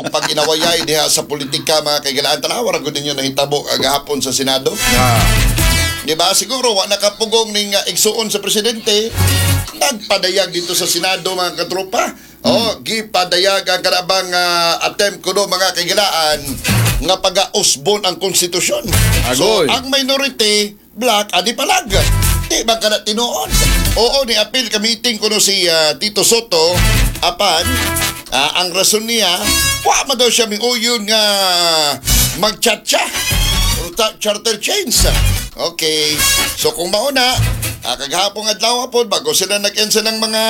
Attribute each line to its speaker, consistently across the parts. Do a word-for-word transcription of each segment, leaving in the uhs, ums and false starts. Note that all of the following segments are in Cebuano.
Speaker 1: O pag-inawayay diha sa politika, mga kaigalaan, tanawa ra gud ninyo nahitabo kagahapon sa Senado.
Speaker 2: Ah.
Speaker 1: Di ba? Siguro wa nakapugong ning uh, igsuon sa presidente. Nagpadayag dito sa Senado, mga katropa. Oh, gipadayag ang kanabang uh, attempt kuno, mga kaigalaan, nga pag-usbon ang konstitusyon. So,
Speaker 2: Agoy.
Speaker 1: ang minority bloc adi palag. Di ba kana tinuod? Oo, ni appeal ka meeting kuno si uh, Tito Sotto apan ah, ang rason niya, wa man daw siya miuyon nga magchatcha Ta- charter change. Okay. So kung mauna, ah, kagahapon adlaw po, bago sila nag-end ng mga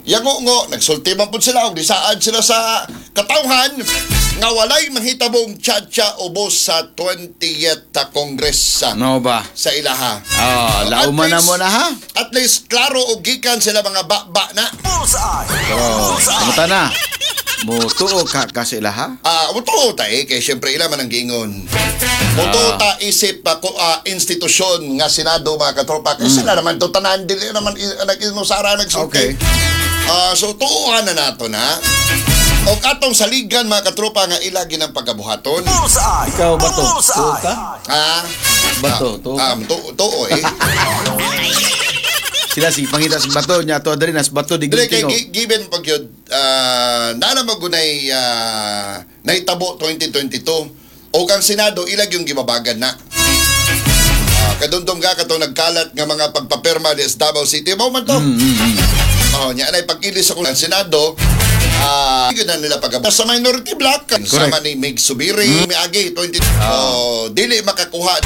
Speaker 1: yango-ngo, nagsulti man po sila, og disaad sila sa katawhan, nga walay mahitabong tsa-tsa ubos sa twentieth Congress sa,
Speaker 2: Ano ba?
Speaker 1: Sa ilaha.
Speaker 2: Ah,
Speaker 1: At
Speaker 2: lauman na
Speaker 1: least-
Speaker 2: mo na ha.
Speaker 1: At least, klaro og gikan sila mga ba-ba na.
Speaker 2: Oh, kamuta na. Mutuo ka ka sa ilaha?
Speaker 1: Ah, mutuo ta eh, kay syempre ila man ang giingon. Mutuo ta isip pa ko ah, institusyon nga Senado, mga katropa, kay sila naman to tanan, dili naman i- nag-inusara nagsulti.
Speaker 2: Okay.
Speaker 1: Ah, so tuohan na nato na. O katong saligan, mga katropa, nga ila ginang pagabuhaton.
Speaker 2: Ikaw ba to? Tuo ka?
Speaker 1: Ah,
Speaker 2: Bato, tuo
Speaker 1: ah,
Speaker 2: ka?
Speaker 1: tuo, tuo eh.
Speaker 2: Sila si pangita sa bato nya to diri nas bato di
Speaker 1: Dili kay
Speaker 2: gintingo.
Speaker 1: gi- given pag yun, ah, na naman gunay ah, nahitabo twenty twenty-two o kang Senado ilag yung gibabagan na. Ah, kadumdum ka katong nagkalat nga mga pagpapirma di sa Davao City mao man to. Oh, nya anay pag-ilis sa ang Senado, ah, uh, na nila pag sa minority bloc sama ni Mig Zubiri miagi twenty, oh, dili makakuha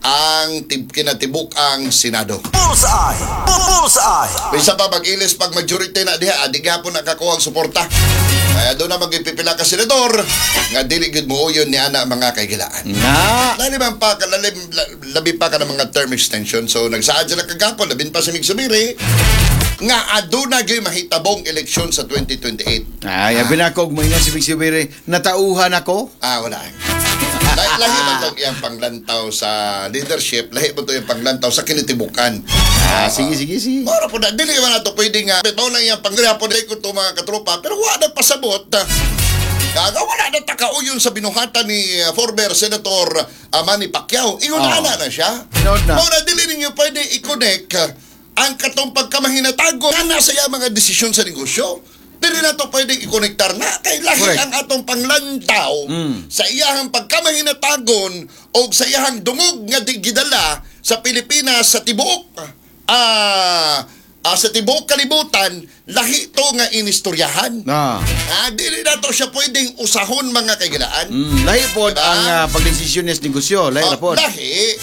Speaker 1: ang tib, kinatibuk ang Senado.
Speaker 3: Bullseye! Bullseye!
Speaker 1: Bisa pa mag-ilis pag majority na diha, adi gihapon nakakuha ang suporta. Kaya doon na magipipila ka senador nga dili gud mo yun ni ana, mga kaigilaan.
Speaker 2: Na.
Speaker 1: Lalim ang pa, lalim, la- labi pa ka ng mga term extension. So nagsaad sila kagapon, labin pa si Mig Zubiri, nga aduna gyud mahitabong eleksyon sa twenty twenty-eight.
Speaker 2: Ay, abi na ko moingon si Mig Zubiri, natauhan ako.
Speaker 1: Ah, wala. Lahi, lahi man tong iyang panglantaw sa leadership, lahi mo to iyang panglantaw sa kinitibukan.
Speaker 2: Ah, sige sige sige.
Speaker 1: Mora po na, dili man nato pwede nga, mao lang iyang panghapon ko to, mga katropa, pero wala na pasabot. Kaga wala na takauyon sa binuhatan ni uh, former Senator uh, Manny Pacquiao. Ingon
Speaker 2: Oh.
Speaker 1: ana na siya.
Speaker 2: Tinood na.
Speaker 1: Mao na dili ninyo pwede i-connect uh, ang katong pagkamahinatago nga nasa iya mga desisyon sa negosyo. Dili na to pwede i-connectar na kay lahi
Speaker 2: Correct.
Speaker 1: ang atong panglantaw
Speaker 2: Mm.
Speaker 1: sa iyahang pagkamahinatagon o sa iyahang dungog nga di- gidala sa Pilipinas sa tibuok ah ah, sa tibuok kalibutan, lahi to nga inistoryahan.
Speaker 2: Na.
Speaker 1: Ah, dili na to siya pwedeng usahon, mga kaigilaan.
Speaker 2: Mm, lahi pod
Speaker 1: Diba?
Speaker 2: ang uh, pagdesisyon niya sa negosyo, lahi
Speaker 1: Oh,
Speaker 2: ra pod.
Speaker 1: Lahi.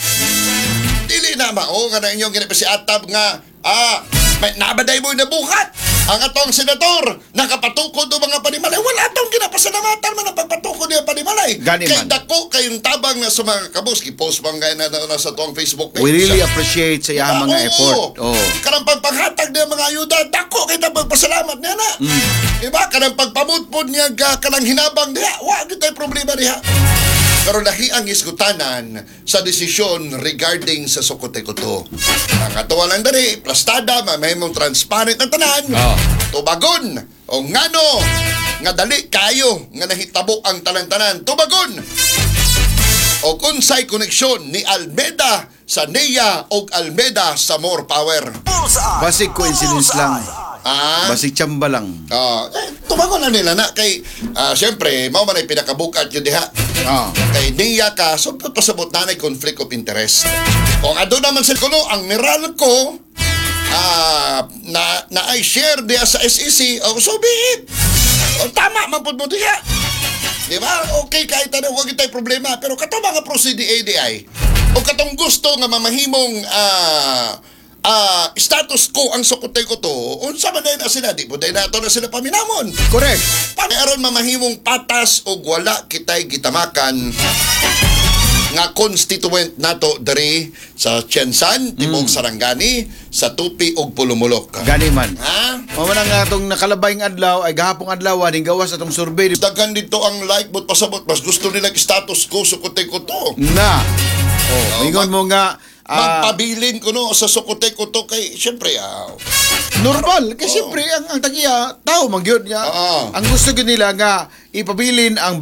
Speaker 1: Dili na mao nga na inyong ginapa si Atab nga ah may nabaday mo nabuhat. Ang atong senador nakapatukod og mga panimalay. Wala atong ginapasalamatan man ang pagpatukod niya panimalay.
Speaker 2: Gani
Speaker 1: Kay
Speaker 2: man.
Speaker 1: dako kayong tabang na sa mga kabos. Gi-post man gay na, na, na sa tuang Facebook page.
Speaker 2: We really appreciate sa iyang mga
Speaker 1: Oo.
Speaker 2: effort. Oh.
Speaker 1: Kanang pagpanghatag niya mga ayuda, dako kay pagpasalamat niya na.
Speaker 2: Mm.
Speaker 1: Diba? Kanang pagpamutpod niya ga kanang hinabang diha, wa gyud tay problema diha. Pero lahi ang isgutanan sa desisyon regarding sa Sukote Kuto. Ang atuwa lang diri, plastada, mamahimong transparent ang tanan.
Speaker 2: Oh.
Speaker 1: Tubagon o ngano nga dali kayo nga nahitabo ang tanan-tanan. Tubagon o kunsay koneksyon ni Almeda sa N E A o Almeda sa More Power.
Speaker 3: Bullseye!
Speaker 2: Basig coincidence lang.
Speaker 1: Ah,
Speaker 2: Basig tsamba lang.
Speaker 1: ah, eh, tubagon na nila na kay ah, siyempre mao man ay pinakabukat yun diha.
Speaker 2: Ah.
Speaker 1: Kay N E A ka, so pasabot na na conflict of interest. Kung ado naman sila kuno ang Meralco ah, na na ay share diha sa S E C, oh, so be it. Oh, tama man pud mo diha. Di ba? Okay, kahit ano, huwag tayo problema. Pero katong mga pro C D A di o katong gusto nga mamahimong ah ah, status quo ang Sukotay ko to, unsa man na sila, di po na ato na sila paminamon.
Speaker 2: Correct.
Speaker 1: Para aron mamahimong patas og wala kitay gitamakan nga constituent nato diri sa Tiensan, tibuok Sarangani, sa Tupi ug Polomolok.
Speaker 2: Gani man.
Speaker 1: Ha?
Speaker 2: Mao man ang atong nakalabayng adlaw ay gahapong adlaw ning gawas atong survey
Speaker 1: Daghan dito ang like but pasabot mas gusto nila status quo Sukotay ko to.
Speaker 2: Na. Oh, ingon mo nga ah,
Speaker 1: Magpabilin ko no sa Sukotay ko to kay syempre ah,
Speaker 2: normal kasi siyempre ang ang tagiya tao man gyud nga.
Speaker 1: Oo.
Speaker 2: Ang gusto gyud nila nga ipabilin ang